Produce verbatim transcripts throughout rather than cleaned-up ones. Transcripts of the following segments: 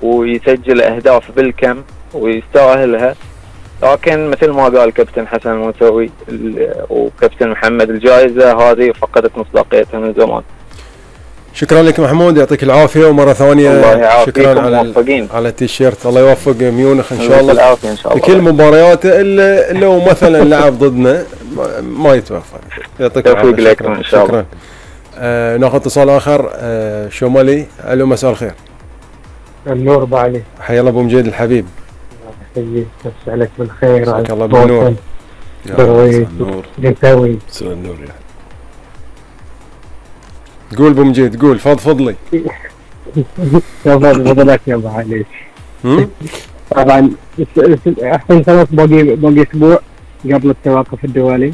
ويسجل اهداف بالكم ويستاهلها، لكن مثل ما قال كابتن حسن الموسوي وكابتن محمد الجائزة هذه فقدت مصداقيتها من زمان. شكرا لك محمود، يعطيك العافية، ومرة ثانية شكرا على موفقين. على التيشيرت. الله يوفق ميونخ ان شاء الله إن شاء الله بكل مبارياته، الا لو مثلا لعب ضدنا ما يتوفق. يعطيك العافية. شكرا ان شاء الله. شكرا. آه ناخذ اتصال اخر. آه شمالي. الو مساء الخير. النور بعلي. حيا الله ابو مجيد الحبيب. الله يمسي عليك بالخير. مساك الله بالنور. درويش جنتاوي. مساء النور يا قول ابو مجيد، قول فضفض لي. تفضل فضلك يا ابو علي. طبعا الحين خلاص باقي باقي اسبوع قبل التوقف الدولي.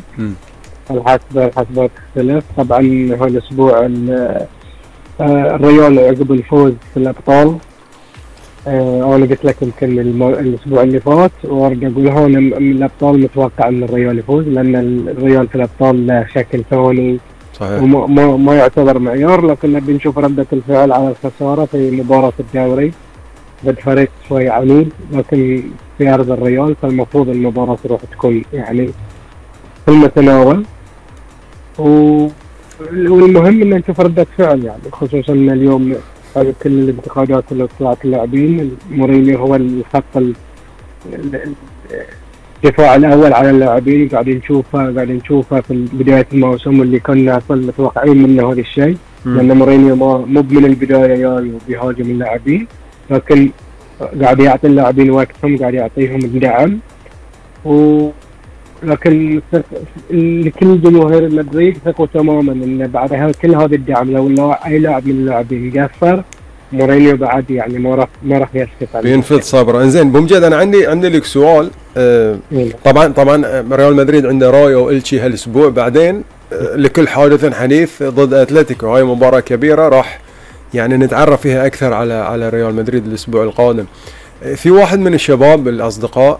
الحسبة الحسبة تختلف طبعا. هذا الاسبوع الريال عقب الفوز في الابطال. أه انا قلت لك يمكن الاسبوع اللي فات، وارجع اقول هون الابطال متوقع ان الريال يفوز، لان الريال في الابطال له شكل ثاني صحيح، وما ما, ما يعتبر معيار، لكن نبي نشوف ردة الفعل على الخسارة في مباراة الدوري ضد فريق شوي عنيد، لكن في ارض الريال، فالمفروض المباراة تروح تكون يعني في المتناول. والمهم ان نشوف ردة فعل، يعني خصوصا ان اليوم هذه كل الانتقادات اللي طلعت اللاعبين، مورينيو هو الخط الدفاع الاول على اللاعبين، قاعدين نشوفه قاعدين نشوفه في بدايه الموسم اللي كنا متوقعين منه هذا الشيء، لان مورينيو مو من البدايه جاي وبيهاجم اللاعبين، لكن قاعد يعطي اللاعبين وقتهم، قاعد يعطيهم الدعم. و لكن لكل جمهور مدريد ثقوا تماما ان بعد كل هذا الدعم لو اي لاعب من اللاعبين قصر، مورينيو بعد يعني ما راح ما راح يسكت عليه، بينفذ صبره. انزين ابو مجيد، انا عندي عندي لك سؤال. آه طبعا طبعا ريال مدريد عنده رايو والتشي هالاسبوع، بعدين آه لكل حادث حديث ضد اتلتيكو، هاي مباراه كبيره راح يعني نتعرف فيها اكثر على على ريال مدريد الاسبوع القادم. في واحد من الشباب الاصدقاء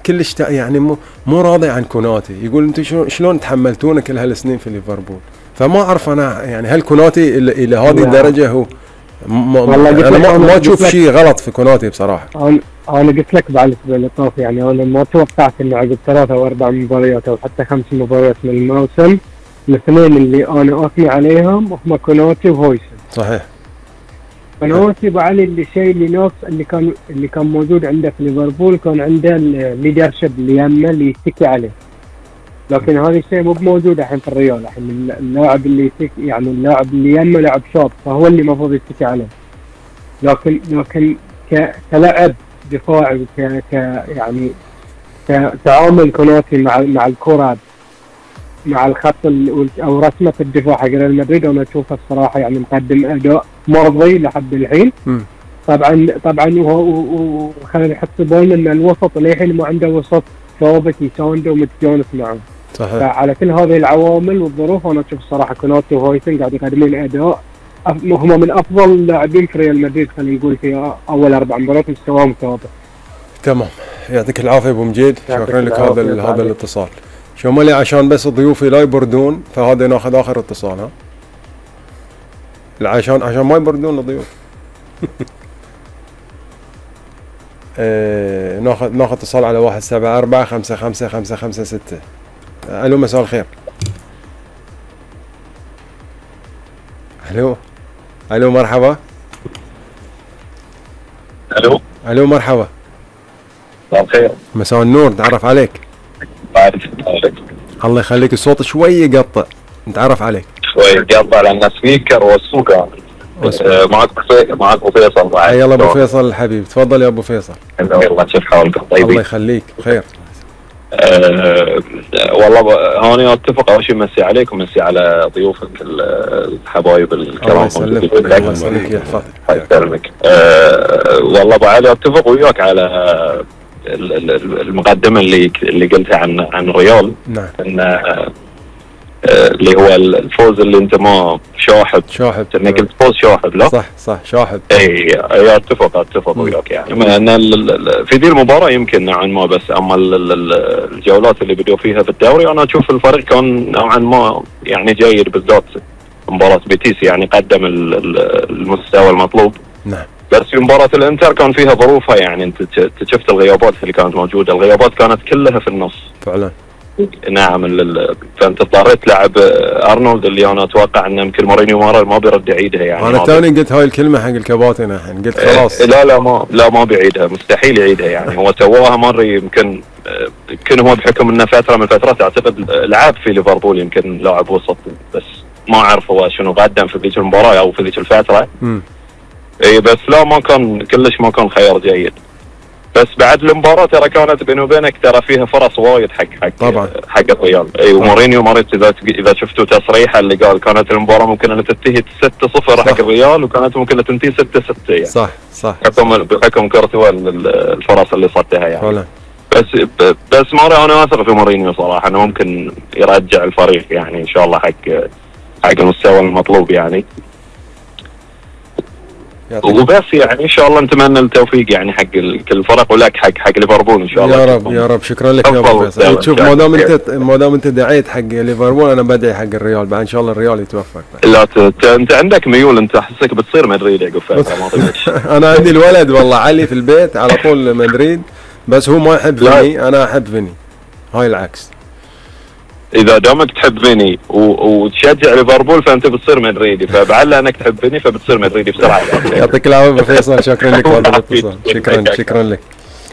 كلش يعني مو مو راضي عن كوناتي، يقول انتم شلون تحملتونا كل هالسنين في ليفربول؟ فما اعرف انا يعني هل كوناتي الى, إلى هذه الدرجه هو والله انا ما, ما اشوف شيء غلط في كوناتي بصراحه. انا انا قلت لك بعد الاسبوع اللي طاف، يعني انا ما توقعت انه عقب ثلاثة او اربع مباريات او حتى خمس مباريات من الموسم الاثنين اللي انا اثني عليهم هم كوناتي وهويسن. صحيح. كوناتي بعلي اللي شيء اللي نفس اللي كان اللي كان موجود عنده في ليفربول، كان عنده الليدرشيب اللي يمه اللي يتكي عليه، لكن هذا الشيء مو موجود الحين في الريال. الحين اللاعب اللي يتك يعني اللاعب اللي يمه لاعب شاب، فهو اللي المفروض يتكي عليه، لكن لكن كلاعب دفاعي ك يعني كتعامل كوناتي مع مع الكره مع الخط او رسمه الدفاع حق ريال مدريد، انا اشوفه الصراحه يعني مقدم اداء مرضي لحد الحين. م. طبعا طبعا وخلينا نحط بالنا ان الوسط للحين ما عنده وسط ثابت يسانده ومتجانس معه. صحيح. فعلى كل هذه العوامل والظروف انا اشوف الصراحه كوناتي وهويسن قاعد يقدمون اداء هم من افضل اللاعبين في ريال مدريد، خلينا نقول في اول اربع مباريات مستواهم ثابت. تمام، يعطيك العافيه ابو مجيد، شكرا لك هذا هذا الاتصال. شمالي عشان بس ضيوفي لا يبردون، فهذا ناخذ اخر اتصال. ها عشان عشان ما يبردون الضيوف. آه ناخذ ناخذ اتصال على واحد سبعة أربعة خمسة خمسة خمسة خمسة ستة. الو مساء الخير. الو الو مرحبا. الو الو مرحبا. مساء الخير. مساء النور، نتعرف عليك. بعرف عليك. الله يخليك، الصوت شوي يقطع، نتعرف عليك. شوي يقطع لان سبيكر والسوق آه معك معك ابو فيصل. حيا الله ابو فيصل الحبيب، تفضل يا ابو فيصل. الله كيف حالكم؟ طيبين. الله يخليك بخير. أه والله هوني اتفق، اول شيء مسي عليك ومسي على ضيوفك الحبايب الكرام. الله يسلمك الله يسلمك يحفظك. الله يسلمك. أه والله ابو علي اتفق وياك على المقدمه اللي اللي قلتها عن عن الريال. نعم. ان اللي هو الفوز اللي انت ما شاحب شاحب انك قلت فوز شاحب. لا صح صح شاحب. اي اتفق اتفق وياك يعني ان في ذي المباراه يمكن نوعا ما، بس اما الجولات اللي بدوا فيها في الدوري انا اشوف الفريق كان نوعا ما يعني جيد، بالذات مباراه بيتيس يعني قدم المستوى المطلوب. نعم. بس في مباراة الانتر كان فيها ظروفها، يعني انت شفت الغيابات اللي كانت موجودة، الغيابات كانت كلها في النص فعلا. نعم. فانت اضطريت تلعب ارنولد اللي انا اتوقع انه يمكن مورينيو ما ما بيرد يعيدها يعني. انا توني قلت هاي الكلمه حق الكباتن الحين، قلت خلاص. إيه لا لا ما لا ما بيعيدها، مستحيل يعيدها يعني. هو سواها مره يمكن يمكن هو بحكم انه فتره من الفترات اعتقد لعب في ليفربول، يمكن لاعب وسط، بس ما اعرف هو شنو قدم في ذيك المباراه او في ذيك الفتره. امم اي بس لا ما كان كلش ما كان خيار جيد. بس بعد المباراه ترى كانت بيني وبينك ترى فيها فرص وايد حق حق طبعا حق الريال. اي ومورينيو مريت اذا اذا شفتوا تصريحه اللي قال كانت المباراه ممكن ان تنتهي ستة صفر حق الريال، وكانت ممكن ان تنتهي ستة ستة يعني. صح صح بحكم بحكم كورتوا الفرص اللي صدها يعني. فعلا. بس بس مره انا اثق في مورينيو صراحه انه ممكن يرجع الفريق يعني ان شاء الله حق حق المستوى المطلوب يعني. وبس يعني ان شاء الله نتمنى التوفيق يعني حق كل الفرق ولك حق حق ليفربول ان شاء الله. يا رب يا رب. شكرا لك يا ابو فيصل. شوف ما دام انت ما دام انت دعيت حق ليفربول انا بدعي حق الريال بعد ان شاء الله الريال يتوفق. لا انت عندك ميول، انت احسك بتصير مدريد يا فتره. انا عندي الولد والله علي في البيت على طول مدريد، بس هو ما يحب فيني، انا احب فيني، هاي العكس. اذا دامك تحب فيني وتشجع ليفربول فانت بتصير مدريدي، فبعل انك تحب فيني فبتصير مدريدي بسرعه. يعطيك العافيه ابو فيصل، شكرا لك هذا الاتصال. شكرا شكرا لك.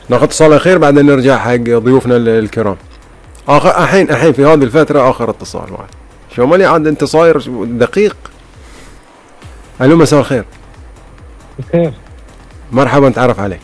ناخذ اتصال اخير بعدين نرجع حق ضيوفنا الكرام. اخر الحين الحين في هذه الفتره اخر اتصال معي. شو مالي عاد انت صاير دقيق. الو مساء الخير. بخير. مرحبا نتعرف عليك.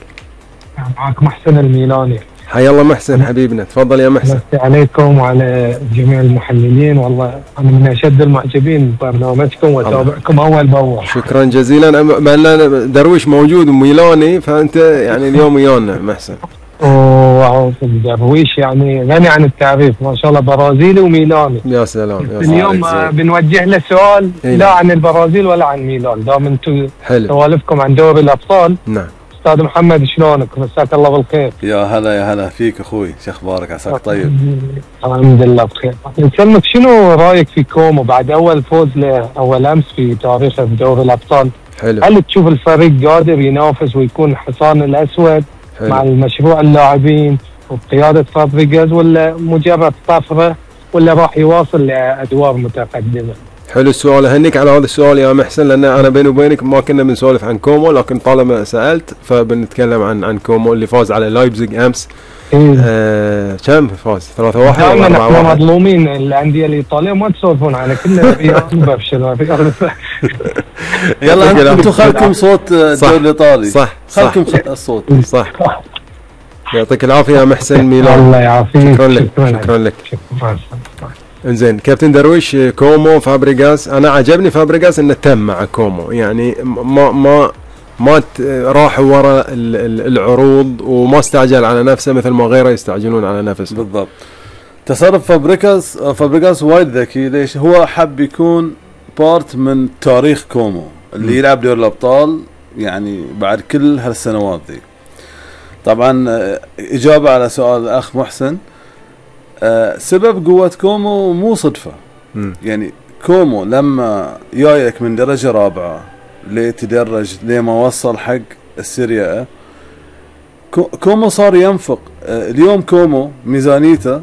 معك محسن الميلاني. حيا الله محسن حبيبنا، تفضل يا محسن. مسي عليكم وعلى جميع المحللين، والله انا من اشد المعجبين ببرنامجكم واتابعكم اول باول. شكرا جزيلا. بما درويش موجود وميلاني فانت يعني اليوم ويانا محسن. اوه درويش يعني غني عن التعريف ما شاء الله، برازيلي وميلاني. يا سلام يا سلام. اليوم بنوجه له سؤال لا عن البرازيل ولا عن ميلان، دام انتم سوالفكم عن دوري الابطال. نعم. استاذ محمد شلونك؟ مساك الله بالخير. يا هلا يا هلا فيك اخوي، شو اخبارك؟ عساك طيب؟ الحمد لله بخير. نسلمك شنو رايك في كومو بعد اول فوز له اول امس في تاريخه بدوري الابطال؟ حلو. هل تشوف الفريق قادر ينافس ويكون الحصان الاسود حلو. مع المشروع اللاعبين وبقياده فابريجاز، ولا مجرد طفره، ولا راح يواصل لادوار متقدمه؟ حلو السؤال، اهنيك على هذا السؤال يا محسن، لان انا بيني وبينك ما كنا بنسولف عن كومو، لكن طالما سالت فبنتكلم عن عن كومو اللي فاز على لايبزيج امس. آه كم فاز؟ ثلاثة واحد ولا أربعة واحد؟ احنا مظلومين الانديه الايطاليه ما تسولفون عنها، كلنا الريال برشلونه. يلا انتم خلكم صوت الدوري الايطالي. صح خلكم الصوت. صح. يعطيك العافيه يا محسن ميلان. الله يعافيك. شكرا لك. شكرا لك. انزين كابتن درويش، كومو فابريغاس، انا عجبني فابريغاس انه تم مع كومو، يعني ما ما ما راح ورا العروض وما استعجل على نفسه مثل ما غيره يستعجلون على نفسه. بالضبط. تصرف فابريغاس فابريغاس وايد ذكي. ليش؟ هو حب يكون بارت من تاريخ كومو اللي م. يلعب دوري الابطال يعني بعد كل هالسنوات ذي. طبعا اجابه على سؤال الاخ محسن، أه سبب قوة كومو مو صدفة. م. يعني كومو لما جايك من درجة رابعة ليتدرج لما وصل حق السيريا، كومو صار ينفق. أه اليوم كومو ميزانيته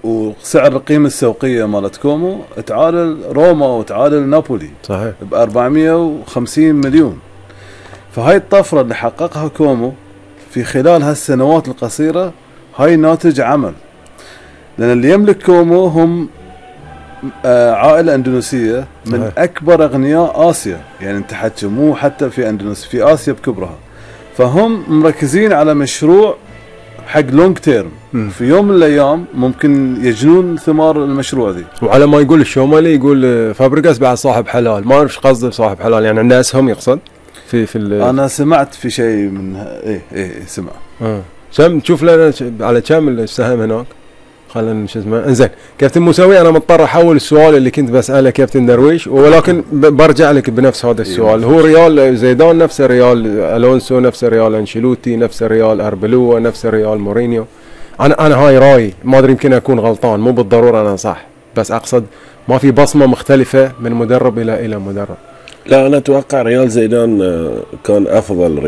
وسعر القيمة السوقية مالت كومو تعادل روما وتعادل نابولي. صحيح. ب أربعمية وخمسين مليون. فهاي الطفرة اللي حققها كومو في خلال هالسنوات القصيرة هاي ناتج عمل، لأن اللي يملك كومو هم آه عائلة أندونيسية من صحيح. أكبر أغنياء آسيا، يعني انت حكي مو حتى في أندونيسيا، في آسيا بكبرها. فهم مركزين على مشروع حق لونج تيرم، في يوم من الأيام ممكن يجنون ثمار المشروع ذي. وعلى ما يقول الشومالي يقول فابريغاس بعد صاحب حلال، ما أعرف ايش قصده بصاحب حلال، يعني عنده أسهم يقصد في في أنا سمعت في شيء من إيه إيه سمع. آه. كم تشوف لنا على كم السهم هناك؟ خلينا شو اسمه. انزين كابتن موسوي، انا مضطر احول السؤال اللي كنت بساله كابتن درويش، ولكن برجع لك بنفس هذا السؤال. هو ريال زيدان نفس ريال الونسو، نفس ريال انشيلوتي، نفس ريال اربلوا، نفس ريال مورينيو؟ انا انا هاي رايي، ما ادري يمكن اكون غلطان، مو بالضروره انا صح، بس اقصد ما في بصمه مختلفه من مدرب الى الى مدرب. لا انا اتوقع ريال زيدان كان افضل